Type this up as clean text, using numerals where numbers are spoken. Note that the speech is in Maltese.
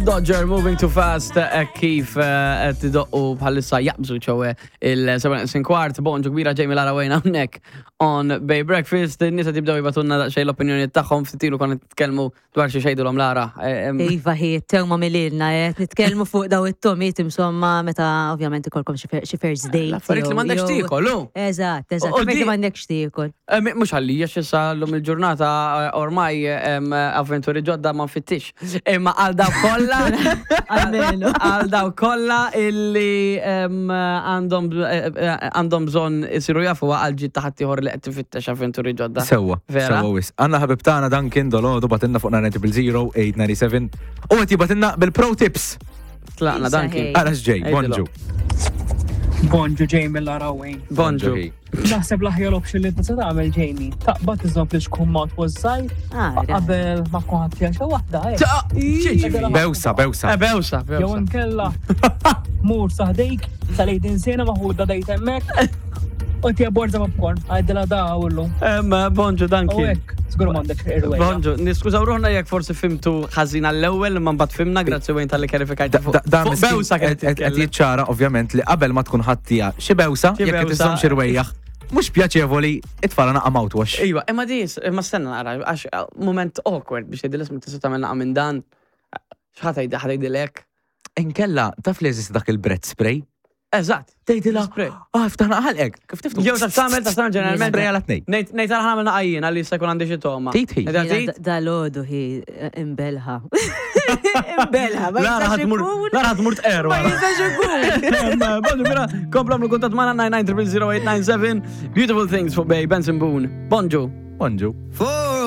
Dodger moving too fast eh, kif eh, qed idoqqu bħalissa jaqbżu ċewe il-7 kwart bonġu kbira Jamie Lara Wayne hawnhekk on Bay Breakfast. In-nies qed jibdew jibatunna daqsxejn l-opinjoni tagħhom ftit ilu konna nitkellmu Dwar xi xejdilhom Lara. Eh, iva hi, tewma mililna, eh, nitkellmu fuq daw it-tomiet insomma meta ovvjament ikolkom xi first date. L-affarijiet li m'għandekx tiekol, hu. Eżatt, eżatt, affarijiet li m'għandekx tiekol. Eh, mhux għalija x'issa llum il-ġurnata ormai avventuri ġodda ma nfittix. Imma għal daw kollha għal daw kollha illi għandhom għandhom bżonn isiru jafu għal ġid ta' ħaddieħor li qed tifittex avventuri ġodda. Sewwa. Vera? Sewwa wis. Għandna ħabib tagħna Duncan Dolodu batilna fuq 900 0897 u qed jibatilna bil-pro tips. Tlaqna Duncan. Ara x'ġej, bonġu. Bonġu Jamie Larawin. Bonġu. Naħseb l-aħjar option li tista' tagħmel Jamie. Taqbad iżomm li xkun mouthwash żgħir ah, qabel ma tkun ħadd xi waħda. Eh. Bewsa, bewsa. Eh, bewsa, bewsa. Jew inkella mur saħdejk tal-ejdin sena maħuda dejt hemmhekk. U tija borza popcorn, għajdila da għullu. Emma, bonġu, danki. Zgur mandek irwejja. Bonġu, niskużaw ruħna jekk forsi fimtu ħażin għall-ewwel, imma mbagħad fimna, grazzi wejn tal-li kjarifikajt. Da bewsa qed jiċċara ovvjament li qabel ma tkun ħattija xi bewsa, jekk qed iżżomm xi rwejjaħ, mhux pjaċevoli itfala naqa' mouthwash. Iva, imma di, imma stenna naqra, għax eh, moment awkward biex tgħidil isma' tista' tagħmel naqa' minn dan. X'ħa tgħidilek? Inkella, taf li jeżisti dak il-breath spray? Eżatt. Tgħidilha, ah, ftaħna ħalqek, kif tiftu? Jew taf tagħmel, taf tagħmel ġeneralment. Spray għal tnejn. Ngħid ngħid għal ħamel naqajjin għalli jista' jkun għandi xi togħma. Tit hi. Dalodu hi eh, imbelħa. Imbelħa, ma Lara jistax ħatmur, ikun. Lara ħatmur tqer Ma wara. jistax ikun. Bonġu, mela, komplu għamlu kuntatt magħna 9900897. Beautiful things fuq Bay Benson Boone. Bonġu. Bonġu.